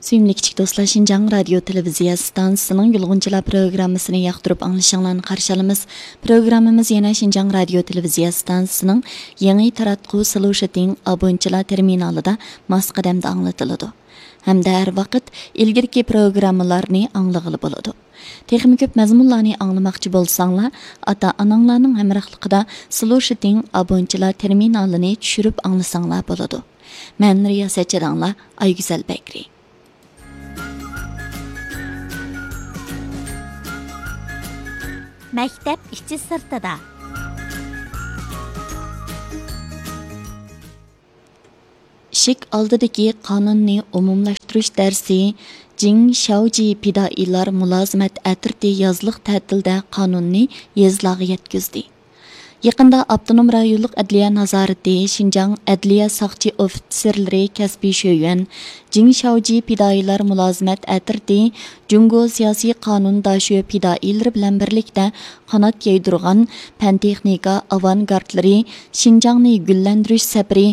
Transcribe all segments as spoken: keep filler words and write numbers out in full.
سۆيۈملۈك كىچىك دوستلار، شىنجاڭ رادىيو تېلېۋىزىيە ئىستانسىسىنىڭ يۇلغۇنچىلار پروگراممىسىنى ياقتۇرۇپ ئاڭلىشىڭلارنى قارشى ئالىمىز. پروگراممىمىز يەنە شىنجاڭ رادىيو تېلېۋىزىيە ئىستانسىسىنىڭ يېڭى تاراتقۇ سلوشىتىڭ ئابونچىلار تېرمىنالىدا ماس قەدەمدە ئاڭلىتىلىدۇ ھەمدە ھەر ۋاقىت ئىلگىرىكى پروگراممىلارنى ئاڭلىغىلى بولىدۇ. تېخىمۇ كۆپ مەزمۇنلارنى ئاڭلىماقچى بولساڭلار، ئاتا-ئاناڭلارنىڭ ھەمراھلىقىدا سلوشىتىڭ ئابونچىلار تېرمىنالىنى چۈشۈرۈپ ئاڭلىساڭلار بولىدۇ. مەن رىياسەتچى داڭلار ئايگۈزەل بەكرى. مەكتەپ ئىچى سىرتىدا. ئىشىك ئالدىدىكى قانۇننى ئومۇملاشتۇرۇش دەرسى جىڭ شياۋجى پىدائىيلار مۇلازىمەت ئەترىتى يازلىق تەتىلدە قانۇننى يېزىلارغا يەتكۈزدى. يېقىندا ئاپتونوم رايونلۇق ئەدلىيە نازارىتى، شىنجاڭ ئەدلىيە ساقچى ئوفىتسېرلىرى كەسپىي شۆيۈەن، جىڭ شياۋجى پىدائىيلار مۇلازىمەت ئەترىتى جۇڭگو سىياسىي قانۇن داشۆ پىدائىيلىرى بىلەن بىرلىكتە قانات يايدۇرغان پەن تېخنىكا ئاۋانگارتلىرى شىنجاڭنى گۈللەندۈرۈش سەپىرى،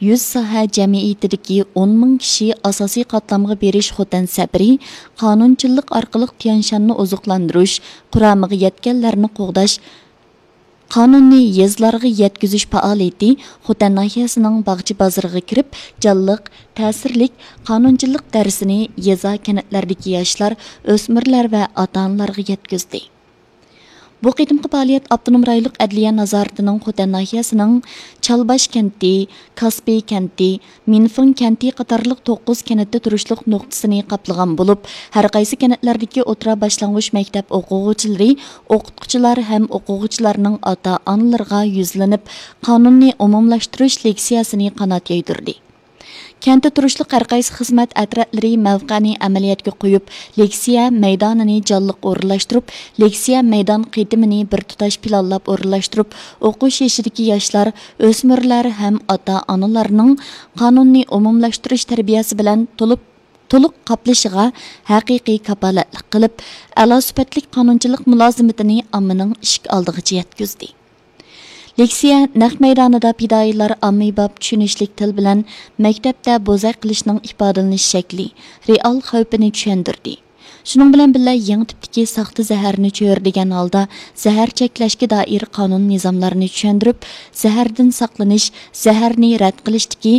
يۈز ساھە جەمئىيىتىدىكى ئون مىڭ كىشى ئاساسىي قاتلامغا بېرىش خوتەن سەپىرى، قانۇنچىللىق ئارقىلىق تيەنشاننى ئوزۇقلاندۇرۇش قۇرامىغا يەتكەنلەرنى قوغداش، قانۇننى يېزىلارغا يەتكۈزۈش پائالىيىتى خوتەن ناھىيەسىنىڭ باغچە بازىرىغا كىرىپ، جانلىق، تەسىرلىك قانۇنچىلىق دەرسىنى يېزا، كەنتلەردىكى ياشلار، ئۆسمۈرلەر ۋە ئاتا-ئانىلارغا يەتكۈزدى. بۇ قېتىمقى پائالىيەت ئاپتونوم رايونلۇق ئەدلىيە نازارىتىنىڭ خوتەن ناھىيەسىنىڭ چالباش كەنتى، كاسپىي كەنتى، مىنفېڭ كەنتى قاتارلىق توققۇز كەنتتە تۇرۇشلۇق نۇقتىسىنى قاپلىغان بولۇپ، ھەرقايسى كەنتلەردىكى ئوتتۇرا باشلانغۇچ مەكتەپ ئوقۇغۇچىلىرى، ئوقۇتقۇچىلار ھەم ئوقۇغۇچىلارنىڭ ئاتا-ئانىلىرىغا يۈزلىنىپ، قانۇننى ئومۇملاشتۇرۇش لېكسىيەسىنى قانات يايدۇردى. كەنتتە تۇرۇشلۇق ھەرقايسى خىزمەت ئەترەتلىرى مەۋقەنى ئەمەلىيەتكە قويۇپ، لېكسىيە مەيدانىنى جانلىق ئورۇنلاشتۇرۇپ، لېكسىيە مەيدان قېتىمىنى بىر تۇتاش پىلانلاپ ئورۇنلاشتۇرۇپ، ئوقۇش يېشىدىكى ياشلار، ئۆسمۈرلەر ھەم ئاتا-ئانىلارنىڭ قانۇننى ئومۇملاشتۇرۇش تەربىيەسى بىلەن تولۇپ، تولۇق قاپلىشىغا ھەقىقىي كاپالەتلىك قىلىپ، ئەلا سۈپەتلىك قانۇنچىلىق مۇلازىمىتىنى ئاممىنىڭ ئىشىك ئالدىغىچە يەتكۈزدى. لېكسىيە نەق مەيدانىدا پىدائىيلار ئاممىباب چۈشىنىشلىك تىل بىلەن مەكتەپتە بوزەك قىلىشنىڭ ئىپادىلىنىش شەكلى، رېئال خەۋپىنى چۈشەندۈردى. شۇنىڭ بىلەن بىللە، يېڭى تىپتىكى ساختا زەھەرنى چۆرىدىگەن ھالدا زەھەر چەكلەشكە دائىر قانۇن نىزاملارنى چۈشەندۈرۈپ، زەھەردىن ساقلىنىش، زەھەرنى رەت قىلىشتىكى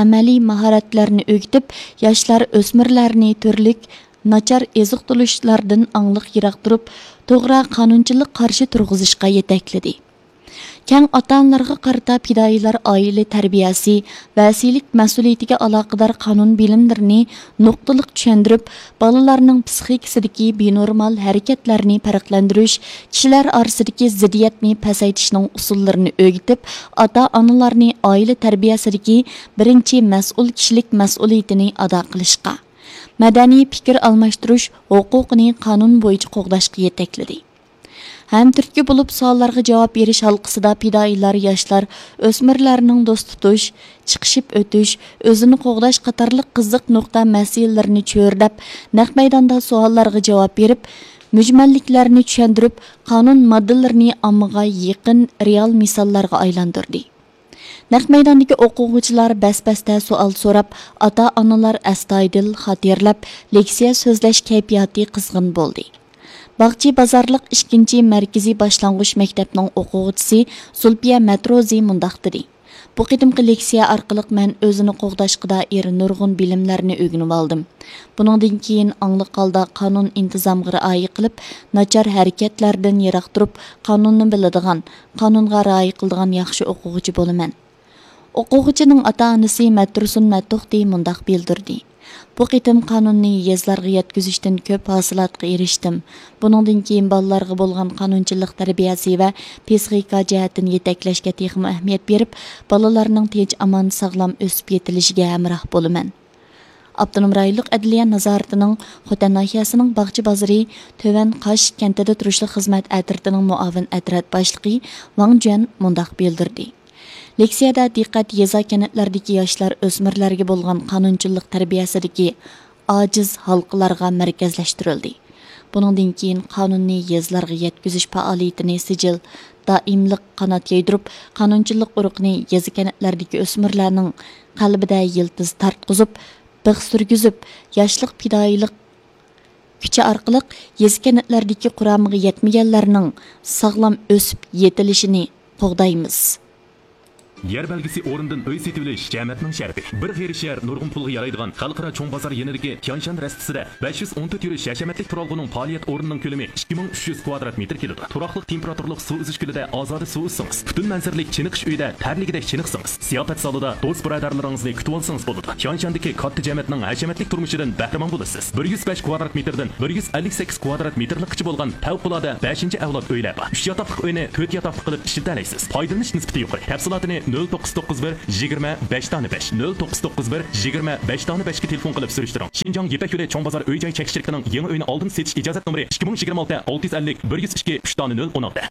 ئەمەلىي ماھارەتلەرنى ئۆگىتىپ، ياشلار، ئۆسمۈرلەرنى تۈرلۈك ناچار ئېزىقتۇرۇشلاردىن ئاڭلىق يىراق تۇرۇپ، توغرا قانۇنچىلىق قارشى تۇرغۇزۇشقا يېتەكلىدى. كەڭ ئاتا-ئانىلارغا قارىتا پىدائىيلار ئائىلە تەربىيەسى، ۋەسىيلىك مەسئۇلىيىتىگە ئالاقىدار قانۇن بىلىملىرىنى نۇقتىلىق چۈشەندۈرۈپ، بالىلارنىڭ پىسخىكىسىدىكى بىنورمال ھەرىكەتلەرنى پەرقلەندۈرۈش، كىشىلەر ئارىسىدىكى زىددىيەتنى پەسەيتىشنىڭ ئۇسۇللىرىنى ئۆگىتىپ، ئاتا-ئانىلارنى ئائىلە تەربىيەسىدىكى بىرىنچى مەسئۇل كىشىلىك مەسئۇلىيىتىنى ئادا قىلىشقا، مەدەنىي پىكىر ئالماشتۇرۇش ھوقۇقىنى قانۇن بويىچە قوغداشقا يېتەكلىدى. ھەم تۈرتكە بولۇپ سوئاللارغا جاۋاب بېرىش ھالقىسىدا پىدائىيلار ياشلار، ئۆسمۈرلەرنىڭ دوست تۇتۇش، چىقىشىپ ئۆتۈش، ئۆزىنى قوغداش قاتارلىق قىزىق نۇقتا مەسىلىلىرىنى چۆرىدەپ، نەق مەيداندا سوئاللارغا جاۋاب بېرىپ، مۈجمەللىكلەرنى چۈشەندۈرۈپ، قانۇن ماددىلىرىنى ئاممىغا يېقىن رېئال مىساللارغا ئايلاندۇردى. نەق مەيداندىكى ئوقۇغۇچىلار بەس-بەستە سوئال سوراپ، ئاتا-ئانىلار ئەستايىدىل خاتىرىلەپ، لېكسىيە سۆزلەش كەيپىياتى قىزغىن بولدى. باغچى بازارلىق ئىككىنچى مەركىزىي باشلانغۇچ مەكتەپنىڭ ئوقۇغۇچىسى زۇلپىيە مەتروزى مۇنداق دېدى: بۇ قېتىمقى لېكسىيە ئارقىلىق مەن ئۆزىنى قوغداشقا دائىر نۇرغۇن بىلىملەرنى ئۆگىنىۋالدىم. بۇنىڭدىن كېيىن ئاڭلىق ھالدا قانۇن ئىنتىزامغا رىئايە قىلىپ، ناچار ھەرىكەتلەردىن يىراق تۇرۇپ، قانۇننى بىلىدىغان، قانۇنغا رىئايە قىلىدىغان ياخشى ئوقۇغۇچى بولىمەن. ئوقۇغۇچىنىڭ ئاتا-ئانىسى مەتتۇرسۇن مەتتۇختى مۇنداق بىلدۈردى: بۇ قېتىم قانۇننى يېزىلارغا يەتكۈزۈشتىن كۆپ ھاسىلاتقا ئېرىشتىم. بۇنىڭدىن كېيىن بالىلارغا بولغان قانۇنچىلىق تەربىيەسى ۋە پسىخىكا جەھەتتىن يېتەكلەشكە تېخىمۇ ئەھمىيەت بېرىپ، بالىلارنىڭ تىنچ-ئامان، ساغلام ئۆسۈپ يېتىلىشىگە ھەمراھ بولىمەن. ئاپتونوم رايونلۇق ئەدلىيە نازارىتىنىڭ خوتەن ناھىيەسىنىڭ باغچە بازىرى تۆۋەن قاش كەنتىدە تۇرۇشلۇق خىزمەت ئەترىتىنىڭ مۇئاۋىن ئەترەت باشلىقى ۋاڭ جۈەن مۇنداق بىلدۈردى: لېكسىيەدە دىققەت يېزا، كەنتلەردىكى ياشلار، ئۆسمۈرلەرگە بولغان قانۇنچىلىق تەربىيەسىدىكى ئاجىز ھالقىلارغا مەركەزلەشتۈرۈلدى. بۇنىڭدىن كېيىن قانۇننى يېزىلارغا يەتكۈزۈش پائالىيىتىنى سىجىل، دائىملىق قانات يايدۇرۇپ، قانۇنچىلىق ئۇرۇقىنى يېزا، كەنتلەردىكى ئۆسمۈرلەرنىڭ قەلبىدە يىلتىز تارتقۇزۇپ، بىخ سۈرگۈزۈپ، ياشلىق پىدائىيلىق كۈچى ئارقىلىق يېزا كەنتلەردىكى قۇرامىغا يەتمىگەنلەرنىڭ ساغلام ئۆسۈپ يېتىلىشىنى قوغدايمىز. يەر بەلگىسى ئورنىدىن ئۆي سېتىۋېلىش جەمەتنىڭ شەرىپى. بىر غېرىب شەھەر نۇرغۇن پۇلغا يارايدىغان خەلقئارا چوڭ بازار يېنىدىكى تيانشان رەستىسىدە بەش يۈز ئون تۆت يۈرۈش ھەشەمەتلىك تۇرالغۇنىڭ پائالىيەت ئورنىنىڭ كۆلىمى ئىككى مىڭ ئۈچ يۈز كۋادرات مېتىر كېلىدۇ. تۇراقلىق تېمپېراتۇرىلىق سۇ ئۈزۈش كۆلىدە ئازادە سۇ ئۈزسىڭىز، پۈتۈن مەنزىرىلىك چېنىقىش ئۆيىدە تەرلىگۈدەك چېنىقسىڭىز، زىياپەت زالىدا دوست بۇرادەرلىرىڭىزنى كۈتۈۋالسىڭىز بولىدۇ. تيانشاندىكى كاتتا جەمەتنىڭ ھەشەمەتلىك تۇرمۇشىدىن بەھرىمەن بولىسىز. بىر يۈز بەش كۋادرات مېتىردىن بىر يۈز ئەللىك سەككىز كۋادرات مېتىرلىكقىچە بولغان پەۋقۇلئاددە بەشىنچى ئەۋلاد ئۆيلەر بار. ئۈچ ياتاقلىق ئۆينى تۆت ياتاقلىق قىلىپ ئىشلىتەلەيسىز. پايدىلىنىش نىسبىتى يۇقىرى. تەپسىلاتىنى نۆل توققۇز توققۇز بىر يىگىرمە بەش دانە بەش، نۆل توققۇز توققۇز بىر يىگىرمە بەش دانە بەشكە تېلېفون قىلىپ سۈرۈشتۈرۈڭ. شىنجاڭ يىپەك يولى چوڭ بازار ئۆي جاي چەكلىك شىركىتىنىڭ يېڭى ئۆينى ئالدىن سېتىش ئىجازەت نومۇرى ئىككى مىڭ يىگىرمە ئالتە ئالتە يۈز ئەللىك بىر يۈز ئىككى ئۈچ دانە نۆل ئون ئالتە.